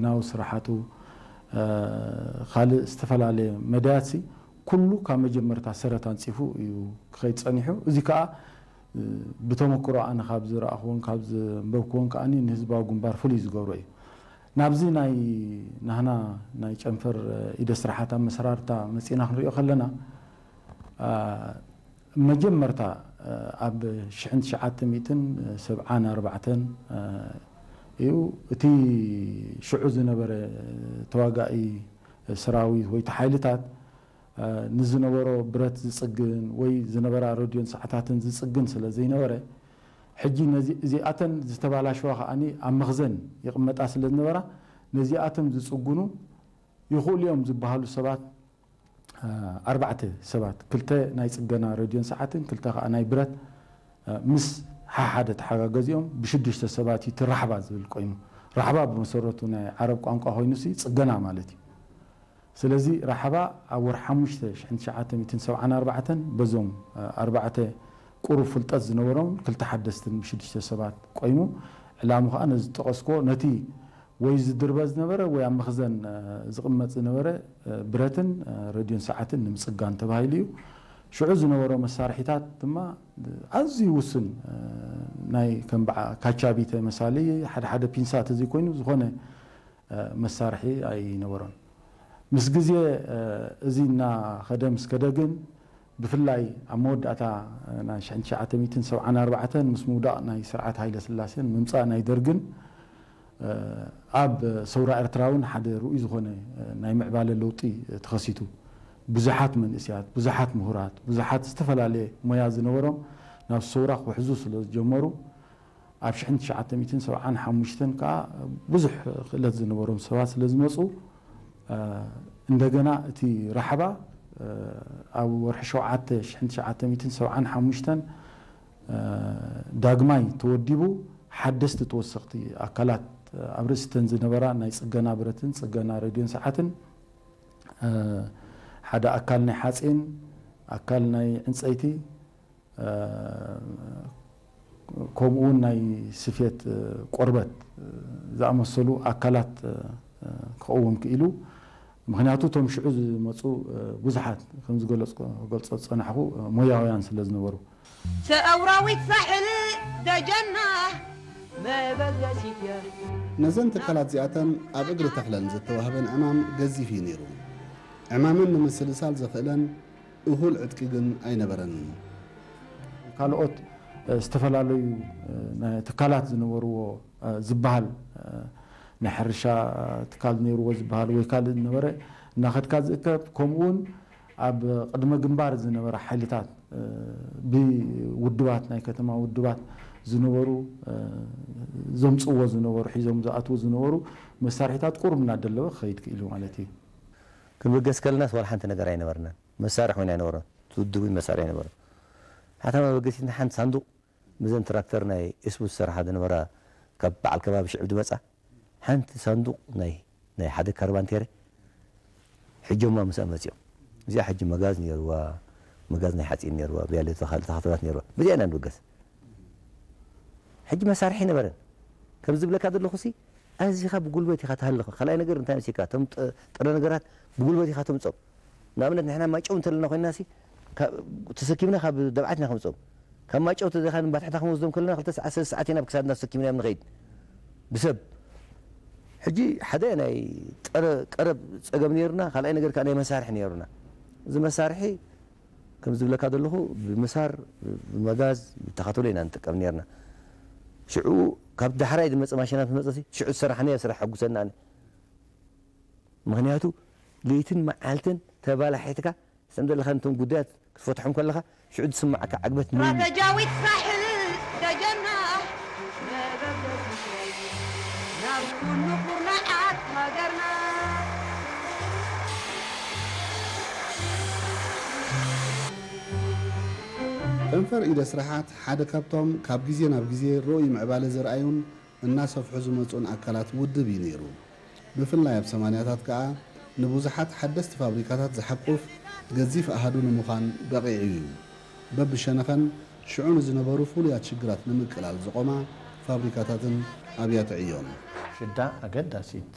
ናው ስራሓቱ፣ እ፣ ካልእ ዝተፈላለየ መዳያትሲ ኩሉ ካብ መጀመርታ ሰረት ኣንጺፉ እዩ ክኸይድ ጸኒሑ። እዚ ከኣ፣ እ፣ ብተመክሮ ኣነ ካብ ዝረኣኽዎን ካብ ዘንበብክዎን ከኣ ንህዝባዊ ግንባር ፍሉይ ዝገብሮ እዩ። ናብዚ ናይ ናህና ናይ ጨንፈር፣ እ፣ ኢደ ስራሓት ኣመሰራርታ መጺእና ክንሪኦ ከለና፣ እ፣ መጀመርታ፣ እ፣ ኣብ ሽሕን ትሽዓተ ሚእትን ሰብዓን ኣርባዕተን፣ እ፣ እዩ። እቲ ሽዑ ዝነበረ ተዋጋኢ ሰራዊት ወይ እቲ ሓይልታት፣ እ፣ ንዝነበሮ ብረት ዝጽግን ወይ ዝነበራ ረድዮን ሰዓታትን ዝጽግን ስለ ዘይነበረ፣ ሕጂ ነዚ-፣ እዚኣተን ዝተባላሸዋ ከኣኒ ኣብ መኽዘን ይቕመጣ ስለ ዝነበራ፣ ነዚኣቶም ዝጽጉኑ ይኽእሉ እዮም ዝበሃሉ ሰባት፣ እ፣ ኣርባዕተ ሰባት፣ ክልተ ናይ ጽገና ረድዮን ሰዓትን፣ ክልተ ከኣ ናይ ብረት፣ እ፣ ምስ ሓሓደ ተሓጋገዚኦም ብሽዱሽተ ሰባት እዩ እቲ ራሕባ ዝብል ቆይሙ። ራሕባ ብመሰረቱ ናይ ዓረብ ቋንቋ ኮይኑሲ ጽገና ማለት እዩ። ስለዚ ራሕባ ኣብ ወርሒ ሓሙሽተ ሽሕን ትሽዓተ ሚእትን ሰብዓን ኣርባዕተን በዞም፣ እ፣ ኣርባዕተ ቁሩብ ፍልጠት ዝነበሮም ክልተ ሓደስትን ብሽዱሽተ ሰባት ቆይሙ። ዕላሙ ከኣ ነዚ ዝጠቐስክዎ ነቲ ወይ ዝድርበ ዝነበረ ወይ ኣብ መኽዘን፣ እ፣ ዝቕመጥ ዝነበረ፣ እ፣ ብረትን፣ እ፣ ረድዮን ሰዓትን ንምጽጋን ተባሂሉ እዩ። ሽዑ ዝነበሮ መሳርሒታት ድማ ኣዝዩ ውሱን፣ እ፣ ናይ ከም በዓ-፣ ካቻቢተ መሳሊ ሓደ ሓደ ፒንሳ ተዘይኮይኑ ዝኾነ፣ እ፣ መሳርሒ ኣይነበሮን። ምስ ግዜ፣ እ፣ እዚ እናኸደ ምስ ከደ ግን ብፍላይ ኣብ መወዳእታ ናይ ሽሕን ትሽዓተ ሚእትን ሰብዓን ኣርባዕተን ምስ ምውዳቕ ናይ ስርዓት ሃይለ ስላሴን ምምጻእ ናይ ደርግን፣ እ፣ ኣብ ሰውራ ኤርትራ እውን ሓደ ርኡይ ዝኾነ፣ እ፣ ናይ ምዕባለ ለውጢ ተኸሲቱ። ብዙሓት መንእስያት፣ ብዙሓት ምሁራት፣ ብዙሓት ዝተፈላለየ ሞያ ዝነበሮም ናብ ሰውራ ክውሕዙ ስለ ዝጀመሩ፣ ኣብ ሽሕን ትሽዓተ ሚእትን ሰብዓን ሓሙሽተን ከኣ ብዙሕ ክእለት ዝነበሮም ሰባት ስለ ዝመጹ፣ እ፣ እንደገና እቲ ራሕባ፣ እ፣ ኣብ ወርሒ ሸውዓተ ሽሕን ትሽዓተ ሚእትን ሰብዓን ሓሙሽተን፣ እ፣ ዳግማይ ተወዲቡ፣ ሓደስቲ ተወሰኽቲ ኣካላት፣ እ፣ ኣብ ርእሲተን ዝነበራ ናይ ጽገና ብረትን ጽገና ረድዮን ሰዓትን፣ እ፣ ሓደ ኣካል ናይ ሓጺን፣ ኣካል ናይ ዕንጸይቲ፣ እ፣ ከምኡ እውን ናይ ስፌት፣ እ፣ ቆርበት፣ እ፣ ዝኣመሰሉ ኣካላት፣ እ፣ ክቐውም ክኢሉ። ምኽንያቱ እቶም ሽዑ ዝመጹ፣ እ፣ ብዙሓት ከም ዝገለጽኩ፣ ክገልጾ ዝጸናሕኩ፣ እ፣ ሞያውያን ስለ ዝነበሩ። ሰውራዊት ሳሕል ደጀና መበገሲት እያ። ነዘን ትካላት እዚኣተን ኣብ እግሪ ተኽለን ዝተዋህበን ዕማም ገዚፍ እዩ ነይሩ። ዕማመን ንምስልሳል ዘኽእለን እኹል ዕጥቂ ግን ኣይነበረንን። ካልኦት፣ እ፣ ዝተፈላለዩ፣ እ፣ ናይ ትካላት ዝነበርዎ፣ እ፣ ዝበሃል፣ እ፣ ናይ ሕርሻ ትካል ነይርዎ ዝበሃል ወይ ካልእ ዝነበረ እናኸድካ ዝእከብ፣ ከምኡውን ኣብ ቅድመ ግንባር ዝነበረ ሓይልታት፣ እ፣ ብውድባት፣ ናይ ከተማ ውድባት ዝነበሩ፣ እ፣ ዘምጽእዎ ዝነበሩ፣ ሒዞም ዝኣትዉ ዝነበሩ መሳርሒታት ቁሩብ እናደለበ ክኸይድ ክኢሉ ማለት እዩ። ክንብገስ ከለናስ ዋላ ሓንቲ ነገር ኣይነበርናን። መሳርሒ እውን ኣይነበሮን። እቲ ውድብ እውን መሳርሒ ኣይነበሮን። ሓታ መበገሲትና ሓንቲ ሳንዱቕ፣ ምዘን ትራክተር ናይ ኤስቡ ዝሰርሓ ዝነበራ፣ ካብ በዓል ከባቢ ሽዕብ ዝመጻ ሓንቲ ሳንዱቕ ናይ፣ ናይ ሓደ ካርባንቴረ ሒጆማ ምስኣ መጺኦም። እዚኣ ሕጂ መጋዝ ነይርዋ፣ መጋዝ ናይ ሓጺን ነይርዋ፣ ብያለ ተኻል-፣ ተኻተላት ነይርዋ። በዚኣ ኢና ንብገስ። ሕጂ መሳርሒ ነበረን። ከም ዝብለካ ዘለኹሲ፣ ኣዚኻ ብጉልበት ኢኻ ትሃልኽ። ካልኣይ ነገር እንታይ መሲልካ? እቶም ጥ-፣ ጥረ ነገራት ብጉልበት ኢኻ ተምጾም። ንኣብነት ንሕና ማጨው እንተለና ኮይንናሲ፣ ካብ፣ ተሰኪምና ካብ ደብዓት ኢና ከምጾም። ካብ ማጨው ተዘይኻ ንባትሕታ ክንወስዶም ከለና ክልተ ሰዓት፣ ሰለስተ ሰዓት ኢና ብክሳድና ተሰኪምናዮም ንኸይድ። ብሰብ። ሕጂ ሓደ ናይ ጥረ-፣ ቀረብ ጸገም ነይሩና፣ ካልኣይ ነገር ከኣ ናይ መሳርሒ ነይሩና። እዚ መሳርሒ ከም ዝብለካ ዘለኹ፣ ብምሳር፣ ብመጋዝ፣ ብተኻተሎ ኢና ንጥቀም ነርና። ሽዑ ካብ ዳሕራይ ዝመጸ ማሽናት መጸሲ፣ ሽዑ ዝሰራሕናዮ ስራሕ ሕጉሰና ኣነ። ምኽንያቱ፣ ለይትን መዓልትን ተባላሒትካ፣ ሰም ዘለኻ ነቶም ጉዳያት ክትፈትሖም ከለኻ፣ ሽዑ ዝስምዓካ ዕግበት ምን እዩ? ስትራተጂያዊት ሳሕል ደጀና፣ መበገሲት እያ፣ ናብ ኩሉ ኩርናዓት ሃገርና። ጨንፈር ኢደ ስራሓት ሓደ ካብቶም ካብ ግዜ ናብ ግዜ ርኡይ ምዕባለ ዘርኣዩን እናሰፍሑ ዝመጹን ኣካላት ውድብ እዩ ነይሩ። ብፍላይ ኣብ ሰማንያታት ከኣ ንብዙሓት ሓደስቲ ፋብሪካታት ዝሓቁፍ ገዚፍ ኣሃዱ ንምዃን በቒዑ እዩ። በብሸነኸን ሽዑ ንዝነበሩ ፍሉያት ሽግራት ንምቅላል ዝቖማ ፋብሪካታትን ኣብያተ ዕዮን። ሽዳ ኣገዳሲት